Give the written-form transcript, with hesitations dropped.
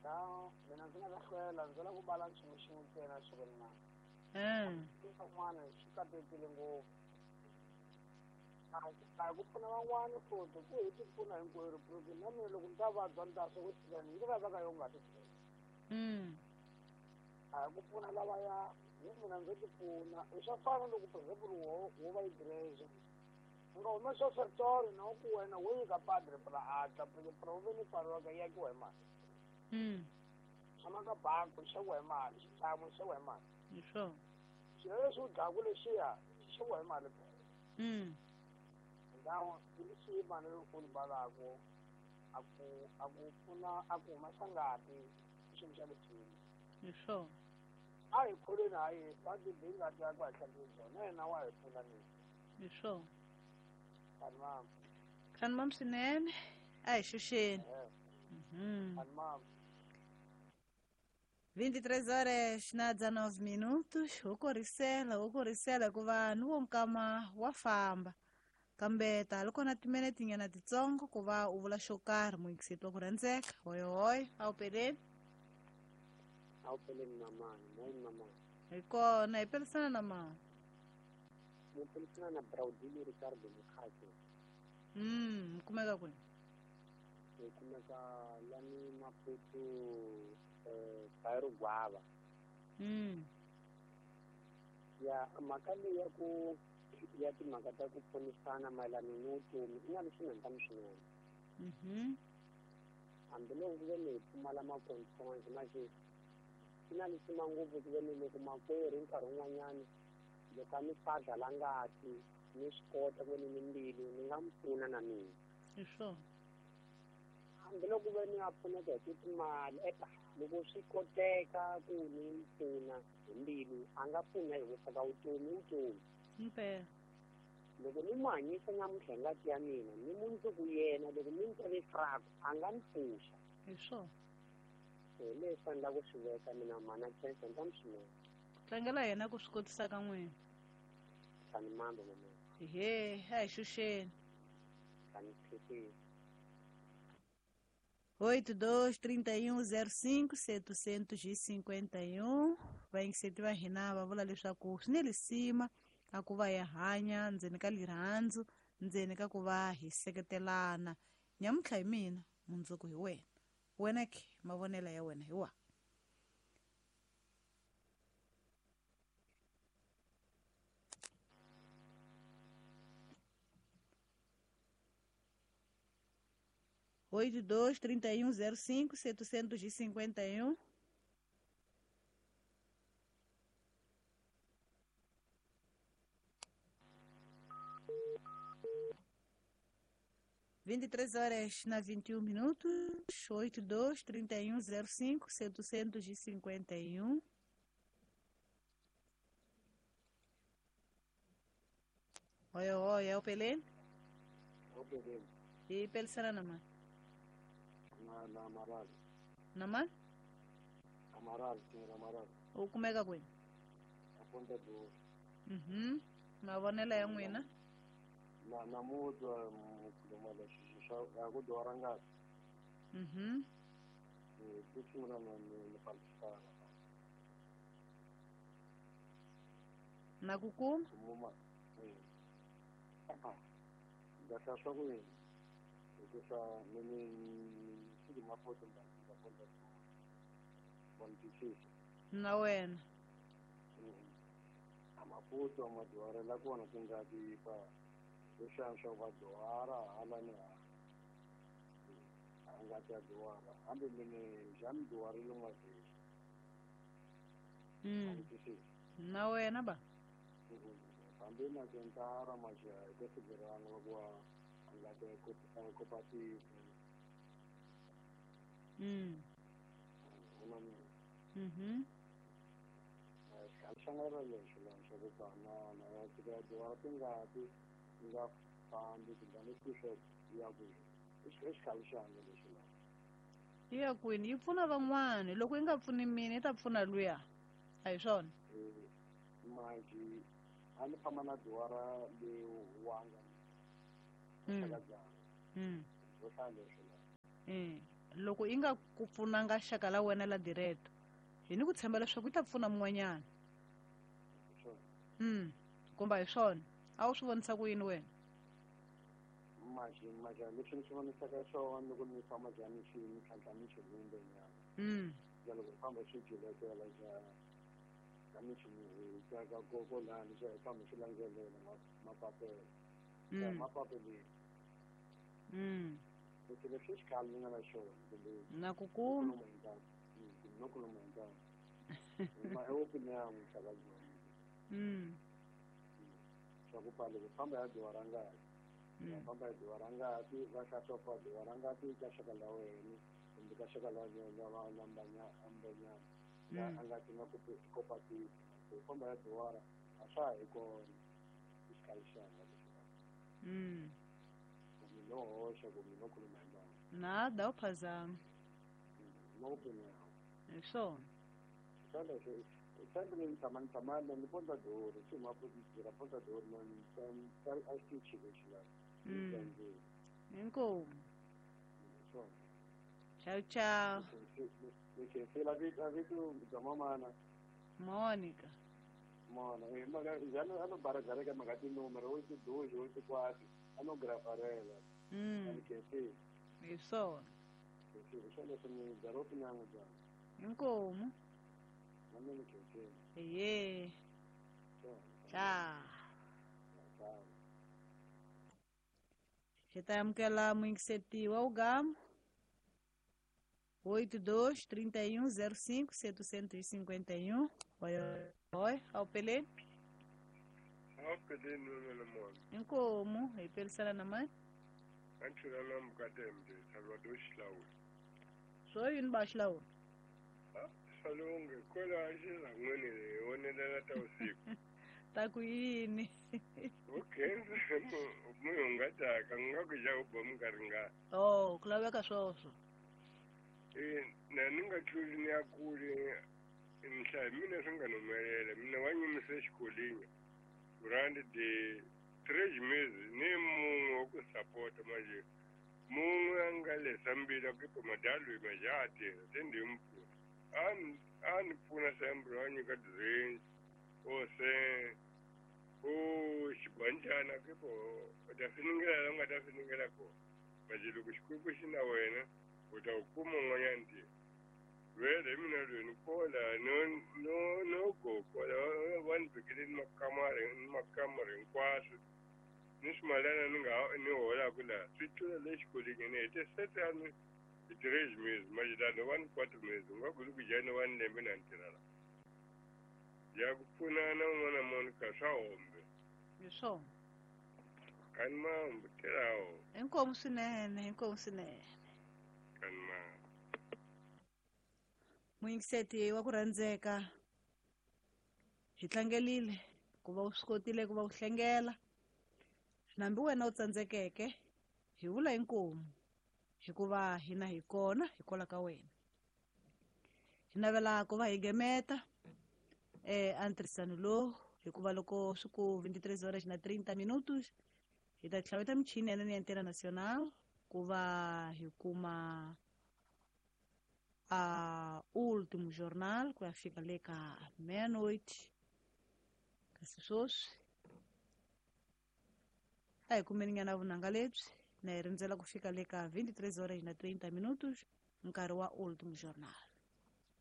Ta mina ndzi nga ta hlwela ndzi lava ku bala nchumu xin'we ntsena swi ri na. Van'wana swi katekile ngopfu. A hi ku pfuna van'wana futhi ku hi ti pfuna hinkwerhu porque na mina loko ni ta vabya ni ta swa ku ndzi vabya ka yo nga ti pfuna. A hi ku pfuna lavaya hi mina ndzo ti pfuna i swa fana loko for example wo va igreja u nga humesa offertory na ku wena wo nyika padre pra atla pra u ve ni paroka yi akiwa hi mali. Tshama ka banku xaviwa hi mali xitlhangu xaviwa hi mali. Hi swona. Swilo leswi u dlaku lexiya xaviwa hi mali phela. Ndhawu i lexi mali u ri a ku a ku pfuna a ku humesa ngati i xilo xa lexini. Hi swona. A hi kholweni ha Yesu a ti bi ngati yakwe a hi hlantswi byona na yena wa hi pfuna ni. Hi swona. Khanimam. Khanimam swinene a hi xuxeni. Khanimam. 23 horas na 19 minutos. Wo korisela hikuva ni wo nkama wa famba. Kambe ta loko na timinete nyana titsongo ku va u vula xo karhi muyingiseti wa ku rhandzeka. Hoyohoyo a wu peleni. A wu peleni mamani, moyeni mamani. Hi kona hi pelisana na mama. Ni pelisana na Braudilio Ricardo Mukhacho. Kumeka kwini? Hi kumeka lani Maputo Bairro Guava. Ya mhaka leyi ya ku ya timhaka ta ku pfunisana mayelana ni vutomi i na leswi nga swinene. Hambiloko ku ve ni hi pfumala makonfrance manje swi na lisima ngopfu ku ve ni loko makwerhu nkarhi wun'wanyani loko a ni fadla la ngati ni swi kota ku ve ni ni mbilu ni nga n'wi pfuna na mina. Hi swona. Hambiloko ve ni a pfuneka hi ku timali eka loko swi koteka ku ni n'wi pfuna hi mbilu a nga pfuna hi ku ka vutomi vutomi. Impela. Loko ni n'wi hanyisa namuntlha hi ngati ya mina ni mundzuku yena loko ni n'wi twele fraku a nga ni pfuxa. Hi swona. Hi leswi a ni lava ku swi veka mina mhana Khensa ni ta mi swinene. Ku tlangela yena ku swi kotisa ka n'wina. Khanimambe mama. Ehe, a hi xuxeni. Kani phepheni. 82 31 05 751 vayingiseti va hina va vula leswaku swi ni lisima a ku va hi hanya ndzeni ka lirhandzu ndzeni ka ku va hi seketelana. Nyamuntlha hi mina mundzuku hi wena. Wena ke mavonelo ya wena hi wa. 82 31 05 751. 23 horas na 21 minutos, 82 31 05 751. Oi, oi, é o Pelé? O Pelé. E Pelé na mão? Na Amaral. Na mão? Amaral, senhor Amaral. O como é que é? A ponta do. Mavonelo ya n'wina? Na namuntlha mukhuluma swa ku dora ngati. Ku sungula na ni fambisana. Na ku kuma? Ndza swa ku yini? Hikusa ni swi mapoto ndza ponta do. Na wena. A Maputo madyuhari la kona tingati pa leswiya swa vadyuhara hala ni hala a nga ta dyuhara hambi mine xa mi dyuharile n'wavheli. Na wena ba? Hambi na kentara majaha hi ku loko a nga ta cooperative. Xangana lexi la xa ku banana ya tika dyuhara tingati ti nga fambi tingani swi ya kwini i xikhale xanga lexi la yi ya kwini yi pfuna van'wani loko yi nga pfuni mina yi ta pfuna luya a hi swona. Manje a ni famba na dyuhara le wanga xaka dzanga ro hlaya leswi la Loko yi nga ku pfunanga xaka la wena la direto, hi ni ku tshemba leswaku yi ta pfuna mun'wanyana. Kumba hi swona a wu swi vonisa ku yini wena? Maxi maxa leswi ni swi vonisaka swona loko ni famba njhani xi ni tlhantlha ni xi hundze nyana. Ya loko famba swi julekela xa ka michini ka ka koko lani swi famba swi landzelela mapapelo. Mapapelo. Leswi leswi xikhale ni nga na xona kumbe na ku kuma no khuluma hi nkarhi. Ma opinion xaka byona. Swa ku pfala ku famba ya dyoha ra ngati. Famba ya dyoha ra ngati va hlaswa dyoha ra ngati ka xaka la wena kumbe ka xaka la la la mbanya ambanyana. A nga ti nga ku kopati ku famba ya dyoha a swa hi kona xikhale xanga lexi. Kumbe no hoxa kumbe no khuluma hi nkarhi. Nada u phazama. No opinion. Hi swona. Xana xi xana ni tshama ni tshama ni Ponta do Ouro, xi ma tirha Ponta do Ouro na ni a xi lexi la. Inkomu. Tchau, tchau. Ni vito bya mamana. Mônica. Mona, já no baragareka maka tinúmero, 8 2 8 4, a no grafarela. Ni khensi. Hi swona. Khensi, xana swi ni byala opinion bya. Inkomu. Ni khensi. Eye. Tchau. Tchau. Hi ta amukela muyingiseti wa Ugama. 82 31 05 751. Oi, oi, ao Pelé. Ao Pelé no mona. Inkomu, hi pelisana na mãe. Anchula na mkatembe, Salvador Xilawu. Swo yini ba Xilawu? Ah, salonge kola xi rangweni wonelela ta usiku. Ta ku yini? Okay, munhu nga taka nga ku ja u ba minkarhi nga. Oh, ku laveka swoswo. Na ni nga tluli ni ya kule nhlayo mina swi nga humelela mina wa nyimise xikolini rand de 3 meses ni munhu wa ku sapota manje munhu a nga lesa mbila ku madalo ma ya tirha se ndi mpfuna a ni pfuna sembro a nyika drink o se o xibanjana ke po u ta finingela la nga ta finingela kona manje loko Xikwembu xi na wena u ta u kuma un'wanyana ntirho vele mina loyi ni kola no go kola va ni vekele ni makamara hinkwaswo ni swimalana ni nga ni holaku laha swi tlula le xikolweni ni hete sete a ni hi 3 meses manje lano va ni 4 meses u nga kuli ku jani va ni lembe na ni tirha la ya ku pfunana un'wana munhu ka swa hombe. Hi swona. Kani mambo tirhawo. Inkomu swinene, inkomu swinene. Kani mambo. Muyingiseti wa ku rhandzeka, hi tlangelile ku va u swi kotile ku va u hlengela. Nambi wena u tsandzekeke, hi vula inkomu hikuva hina hi kona hikwalaho ka wena. Hi navela ku va hi gemeta a ntirhisano lowu hikuva loko swi ku 23 horas na 30 minutos hi ta tlhaveta michini ya ya Antena Nacional ku va hi kuma a último jornal ku ya fika le ka meia-noite. Kasi sweswi a hi kumeni nyana vunanga lebyi na hi rindzela ku fika le ka 23 horas na 30 minutos nkarhi wa último jornal.